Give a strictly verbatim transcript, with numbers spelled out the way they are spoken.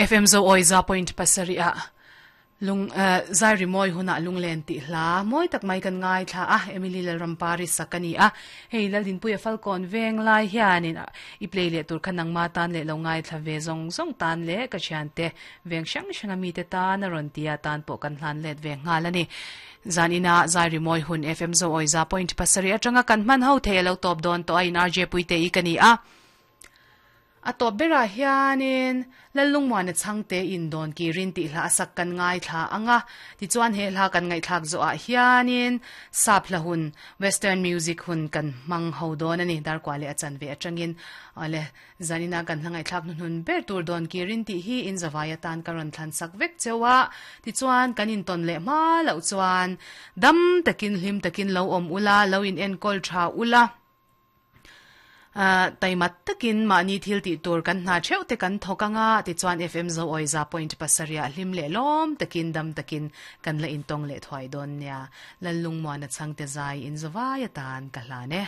F M zo oi za point pasari a lung zai ri moi huna lunglen ti hla moi tak mai kan ngai thla a Emily Lalrampari sakani a hei laldin puya falcon veng lai hianin i play le tur khanang ma tan le lo ngai thla ve zong zong tan le ka thian te veng sang sang ami te ta na ron tia tan po kan hlan let ve ngal ani zanina zai ri moi hun F M zo oi za point pasari atanga kan man ho the lo top don to in R J puite i kani a a top bera hianin lalung muan a changte in don ki rin ti hla sak kan ngai thla anga ti chuan he hla kan ngai thlak zo a hianin sap hla hun western music hun kan mang ho don ani dar kwale achan ve atangin ale zanina kan hlangai thlak nun hun ber tur don ki rin ti hi in zawaya tan karon thlan sak vek chewa ti chuan kan in ton le ma lo chuan dam takin hlim takin lo om ula lo in en kol tha ula taimat takin mani thil ti tur kan na cheu te kan thokanga ti chuan F M zo oi za point pasaria hlim le lom takin dam takin kan la in tong le thwai don nia lalung muan a changte zai in zawaya tan ka hla ne.